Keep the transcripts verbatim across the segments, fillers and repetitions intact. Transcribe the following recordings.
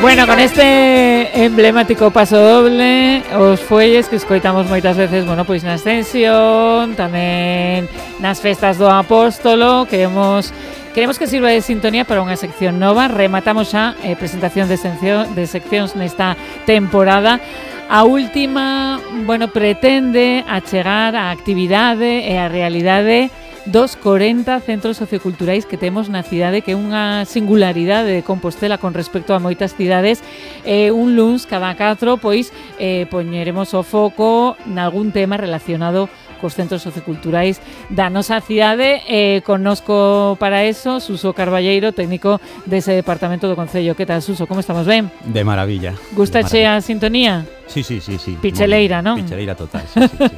Bueno, con este emblemático paso doble, os fuelles que escoitamos moitas veces, bueno, pois na Ascensión, tamén nas festas do Apóstolo, queremos queremos que sirva de sintonía para unha sección nova. Rematamos xa eh, presentación de, sección, de seccións nesta temporada. A última, bueno, pretende achegar a actividade e a realidade dos corenta centros socioculturais que temos na cidade, que é unha singularidade de Compostela con respecto a moitas cidades. Eh, un luns cada catro, pois, eh, poñeremos o foco nalgún tema relacionado cos centros socioculturais da nosa cidade. Eh, connosco para eso Suso Carballeiro, técnico dese departamento do Concello. Que tal, Suso? Como estamos? Ben? De maravilla. Gustache a sintonía? Sí, sí, sí, sí. Picheleira, non? Picheleira total, sí, sí, sí.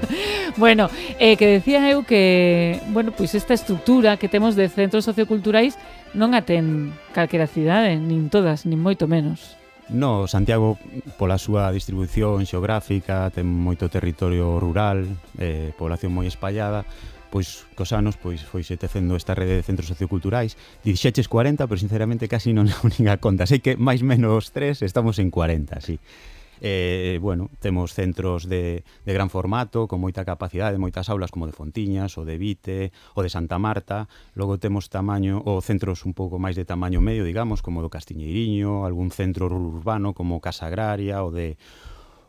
Bueno, eh, que decía eu que, bueno, pois esta estructura que temos de centros socioculturais non a ten calquera cidade, nin todas, nin moito menos. No, Santiago, pola súa distribución xeográfica, ten moito territorio rural, eh, población moi espallada, pois cos anos pois foise tecendo esta rede de centros socioculturais. Dixeches corenta, pero sinceramente casi non levo nin a conta. Sei que máis menos tres estamos en corenta, sí. Eh, bueno, temos centros de, de gran formato, con moita capacidade, moitas aulas como de Fontiñas, o de Vite, o de Santa Marta. Logo temos tamaño, ou centros un pouco máis de tamaño medio, digamos, como do Castiñeiriño, algún centro urbano como Casa Agraria, o de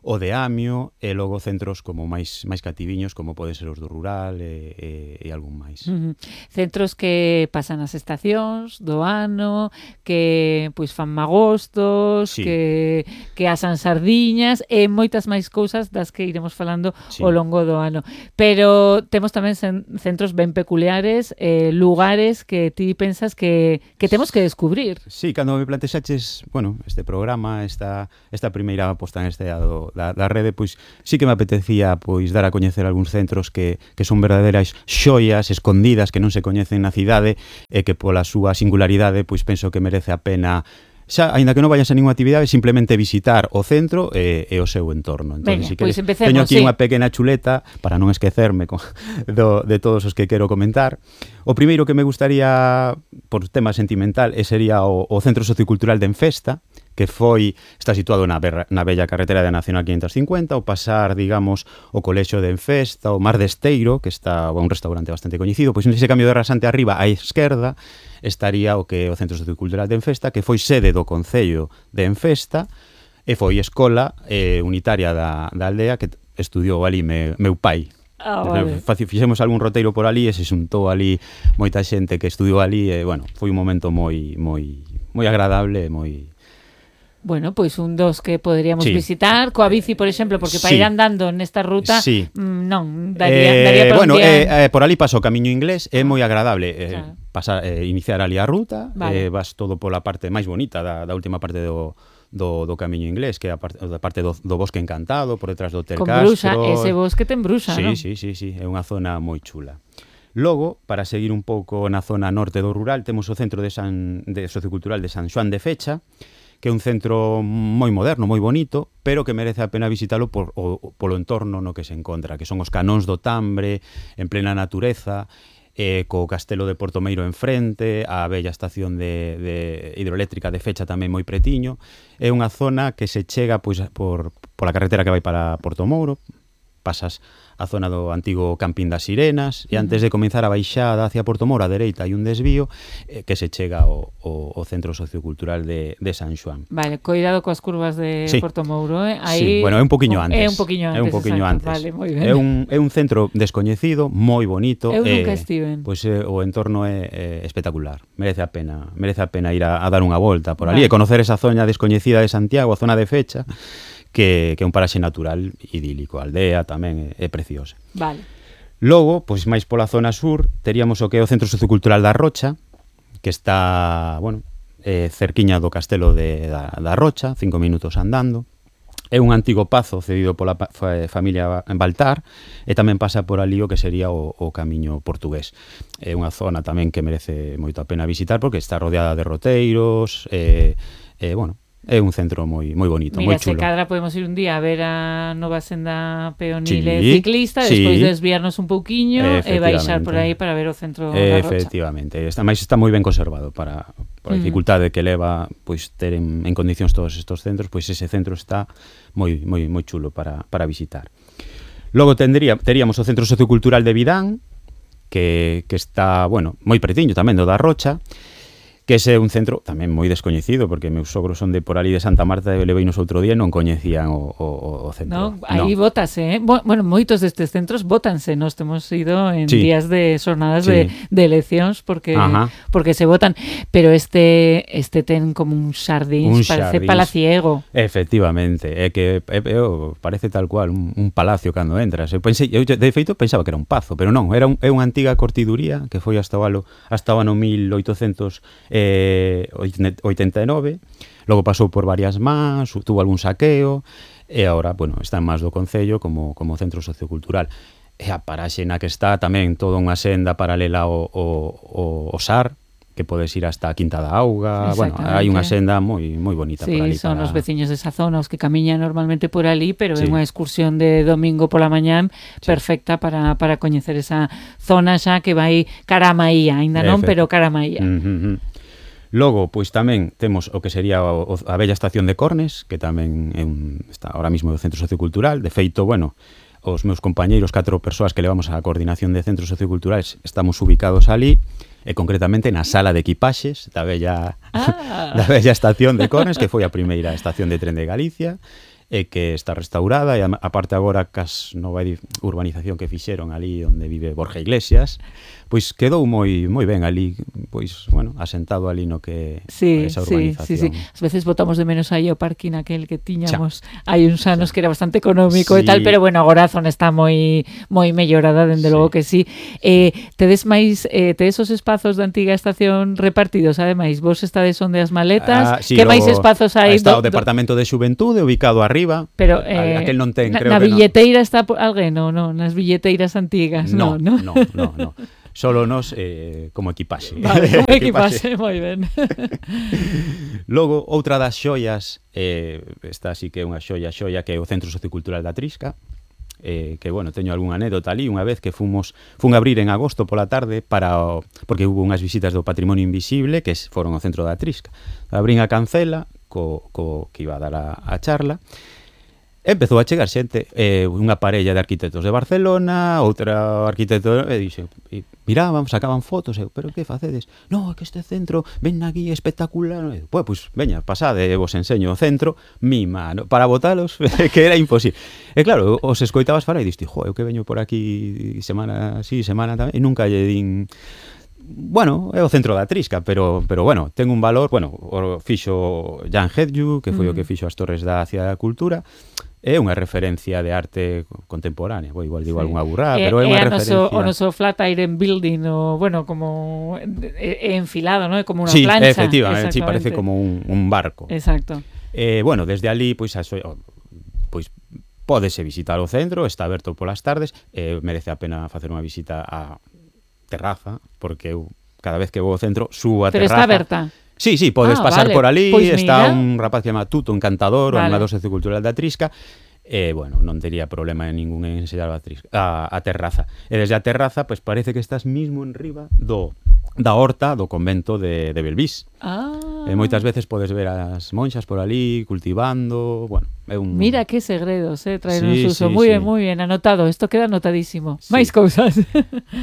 o de Amio, e logo centros como máis máis cativiños, como poden ser os do rural e, e, e algún máis. Uh-huh. Centros que pasan as estacións do ano, que pois fan magostos, sí. que, que asan sardiñas e moitas máis cousas das que iremos falando sí. ao longo do ano. Pero temos tamén centros ben peculiares, eh, lugares que ti pensas que, que temos que descubrir. Sí, cando me plantexaches, bueno, este programa, esta, esta primeira posta en este do Da, da rede, pois sí que me apetecía pois dar a coñecer algúns centros que, que son verdadeiras xoias escondidas que non se coñecen na cidade e que pola súa singularidade pois penso que merece a pena, xa, aínda que non vayas a ninguna actividade, simplemente visitar o centro e, e o seu entorno. Entón, Venga, si pois queres, empecemos, teño aquí sí. unha pequena chuleta para non esquecerme con, do, de todos os que quero comentar. O primeiro que me gustaría, por tema sentimental, sería o, o Centro Sociocultural de Enfesta, que foi, está situado na, berra, na bella carretera da Nacional quinhentos cincuenta, ao pasar, digamos, o colexio de Enfesta, o Mar de Esteiro, que está un restaurante bastante coñecido, pois nese cambio de rasante arriba, á esquerda, estaría o que é o Centro Sociocultural de Enfesta, que foi sede do Concello de Enfesta, e foi escola eh, unitaria da, da aldea, que estudiou ali me, meu pai. Ah, vale. Fixemos algún roteiro por ali e se xuntou ali moita xente que estudiou ali e, bueno, foi un momento moi moi moi agradable e moi... Bueno, pois un dos que poderíamos sí. visitar coa bici, por exemplo, porque para sí. ir andando nesta ruta sí. mmm, non, daría, eh, daría para bueno, un día... eh, eh, por ali paso o camiño inglés, é moi agradable eh, claro. pasar, eh, iniciar ali a ruta, vale. eh, vas todo pola parte máis bonita da, da última parte do do, do camiño inglés, que é a parte, a parte do, do bosque encantado, por detrás do Hotel Con Castro. Bruxa, ese bosque ten Bruxa, sí, non? Sí, sí, sí, é unha zona moi chula. Logo, para seguir un pouco na zona norte do rural, temos o Centro de, San, de Sociocultural de San Xoán de Fecha, que é un centro moi moderno, moi bonito, pero que merece a pena visitalo por, o, polo entorno no que se encontra, que son os canóns do Tambre, en plena natureza, eh, co castelo de Portomeiro enfrente, a bella estación de, de hidroeléctrica de Fecha tamén moi pretiño. É unha zona que se chega pois, por, por a carretera que vai para Portomouro, pasas a zona do antigo Campín das Sirenas e antes de comenzar a baixada hacia Portomoro a dereita hai un desvío eh, que se chega ao, ao, ao Centro Sociocultural de, de San Xoán. Vale, cuidado coas curvas de sí. Portomouro, eh? Aí... Sí, bueno, é un poquinho antes. É un poquinho antes, é un poquinho exacto. antes. Vale, moi ben. É un, é un centro descoñecido, moi bonito. Eu nunca eh, estive. Pois eh, o entorno é, é espectacular. Merece a pena, merece a pena ir a, a dar unha volta por ali vale. E conocer esa zona descoñecida de Santiago, a zona de Fecha, que, que é un paraxe natural idílico, a aldea tamén é, é preciosa. Vale. Logo, pois máis pola zona sur, teríamos o que é o Centro Sociocultural da Rocha, que está, bueno, eh, cerquiña do castelo de, da, da Rocha, cinco minutos andando. É un antigo pazo cedido pola fa, familia Baltar e tamén pasa por ali o que sería o, o camiño portugués. É unha zona tamén que merece moito a pena visitar porque está rodeada de roteiros e, eh, bueno, é un centro moi moi bonito, Mira, moi chulo. Mira, se cadra podemos ir un día a ver a nova senda peonil e sí, ciclista, sí. despois desviarnos un pouquiño e baixar por aí para ver o centro da Rocha. Efectivamente, está, máis está moi ben conservado para, por a dificultade que leva pois ter en, en condicións todos estos centros, pois ese centro está moi moi moi chulo para, para visitar. Logo tendría, teríamos o Centro Sociocultural de Vidán, que, que está, bueno, moi pretiño tamén do da Rocha, que ese é un centro tamén moi descoñecido, porque meus sogros son de por ali de Santa Marta e leveinos outro día e non coñecían o, o, o centro. No, aí no. Bótase, eh? Bueno, moitos destes centros bótanse, nos temos ido en sí. días de xornadas sí. de, de eleccións porque Ajá. porque se votan, pero este este ten como un xardín, parece xardíns. Palaciego. Efectivamente, é que é, é, parece tal cual un, un palacio cando entras. Eu pensei, eu de feito pensaba que era un pazo, pero non, era un, é unha antiga cortiduría que foi hasta o ano, hasta o ano mil oitocentos Eh, oitenta e nove, logo pasou por varias más, tuvo algún saqueo e agora, bueno, está en más do Concello como, como centro sociocultural. E a paraxe na que está tamén toda unha senda paralela ao, ao, ao S A R, que podes ir hasta a Quinta da Auga. Bueno, hai unha senda moi moi bonita sí, por ali. Sí, son para... os veciños desa zona os que camiñan normalmente por ali, pero sí. é unha excursión de domingo pola mañán sí. perfecta para, para coñecer esa zona xa que vai cara a Maía, ainda non, Efe. pero cara a Maía. Uh -huh. Logo, pois tamén temos o que sería o, a bella estación de Cornes, que tamén é un, está ahora mismo no Centro Sociocultural. De feito, bueno, os meus compañeiros, catro persoas que levamos a coordinación de centros socioculturales, estamos ubicados ali, e concretamente na sala de equipaxes da bella, ah. da bella estación de Cornes, que foi a primeira estación de tren de Galicia, e que está restaurada, e aparte agora cas nova urbanización que fixeron ali onde vive Borja Iglesias, pois quedou moi moi ben ali, pois, bueno, asentado ali no que sí, esa urbanización. Sí, sí, sí. As veces botamos de menos aí o parquín aquel que tiñamos hai uns anos que era bastante económico sí. e tal, pero bueno, agora a zona está moi moi mellorada, dende sí. logo que sí. Eh, tedes máis, eh, tedes os espazos da antiga estación repartidos, ademais, vos estades onde as maletas, ah, sí, que máis espazos hai? Está o Departamento de Xuventude ubicado arriba, pero eh, aquel non ten, na, creo na que billeteira no. está alguén, non, non, nas billeteiras antigas, no, non, no, no, no. Solo nos eh, como equipaxe. Vale, como equipaxe, moi ben. Logo, outra das xoias, eh, esta sí que é unha xoia xoia, que é o Centro Sociocultural da Trisca, eh, que, bueno, teño algunha anécdota ali, unha vez que fomos, fun a abrir en agosto pola tarde, para o, porque hubo unhas visitas do Patrimonio Invisible, que foron ao Centro da Trisca. Abrín a cancela, co, co que iba a dar a, a charla, empezou a chegar xente, eh, unha parella de arquitectos de Barcelona, outra arquitecto, e dixe, e miraban, sacaban fotos, eu, pero que facedes? No, é que este centro ven aquí espectacular. Pois, pues, veña, pasade, vos enseño o centro, mima, no, para botalos, que era imposible. E claro, os escoitabas falar e diste, jo, eu que veño por aquí semana sí, semana tamén, e nunca lle din... Bueno, é o centro da Trisca, pero pero bueno, ten un valor, bueno, o fixo Jan Hedju, que foi mm. o que fixo as Torres da Cidade da Cultura. É unha referencia de arte contemporánea, bo, igual digo sí. algunha burrada, pero é unha referencia. O noso flat iron building, o, bueno, como é enfilado, ¿no? É como unha sí, plancha. Efectivamente, sí, parece como un, un barco. Exacto. Eh, bueno, desde ali, pois, pues, pois pódese visitar o centro, está aberto polas tardes, eh, merece a pena facer unha visita á terraza, porque eu cada vez que vou ao centro subo a pero terraza. Pero está aberta? Sí, sí, podes ah, pasar vale. por ali, pues está mira. un rapaz que chama Tuto, encantador, vale. o animador sociocultural da Trisca, e, bueno, non tería problema en ningún en enseñar a, trisca, a, a terraza. E desde a terraza, pois pues, parece que estás mismo en riba do da horta do convento de, de Belvís. Ah. E moitas veces podes ver as monxas por ali cultivando, bueno, é un... Mira que segredos, eh, traer sí, un suso. Sí, moi sí. ben, moi ben, anotado. Isto queda anotadísimo. Sí. Máis cousas.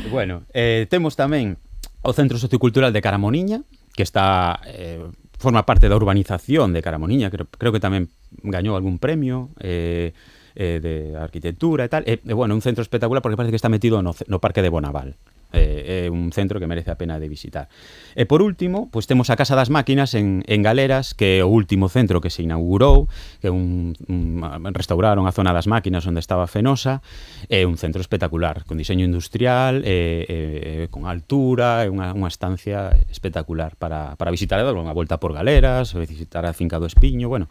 Bueno, eh, temos tamén o Centro Sociocultural de Caramoniña, que está eh, forma parte da urbanización de Caramoniña, creo, creo que tamén gañou algún premio eh, eh, de arquitectura e tal. E, eh, bueno, un centro espectacular porque parece que está metido no, no Parque de Bonaval. Eh, é un centro que merece a pena de visitar. E por último, pois temos a Casa das Máquinas en, en Galeras, que é o último centro que se inaugurou, que é un, un restauraron a zona das máquinas onde estaba Fenosa, é un centro espectacular, con diseño industrial, e, e, e con altura, é unha, unha estancia espectacular para, para visitar, dar unha volta por Galeras, visitar a Finca do Espiño, bueno,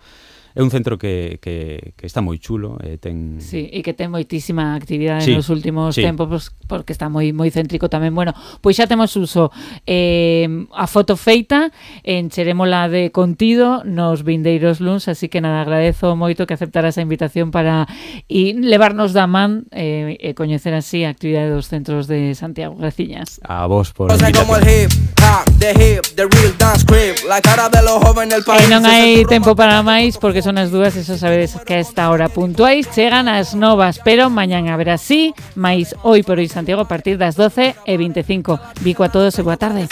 é un centro que, que, que está moi chulo, eh, ten... Sí, e que ten moitísima actividade sí, nos últimos sí. tempos, porque está moi moi céntrico tamén. Bueno, pois xa temos uso eh, a foto feita, encherémola de contido nos vindeiros luns, así que nada, agradezo moito que aceptara esa invitación para e levarnos da man eh, e coñecer así a actividade dos centros de Santiago. Graciñas. A vos por a Como el invitación. hip hop, the hip, the real dance crib, la cara de los jóvenes del país. E non hai tempo para máis porque son as dúas, eso sabedes que a esta hora puntuais chegan as novas, pero mañán haberá sí, máis hoy por hoy Santiago a partir das doce e veinticinco. Bico a todos e boa tarde.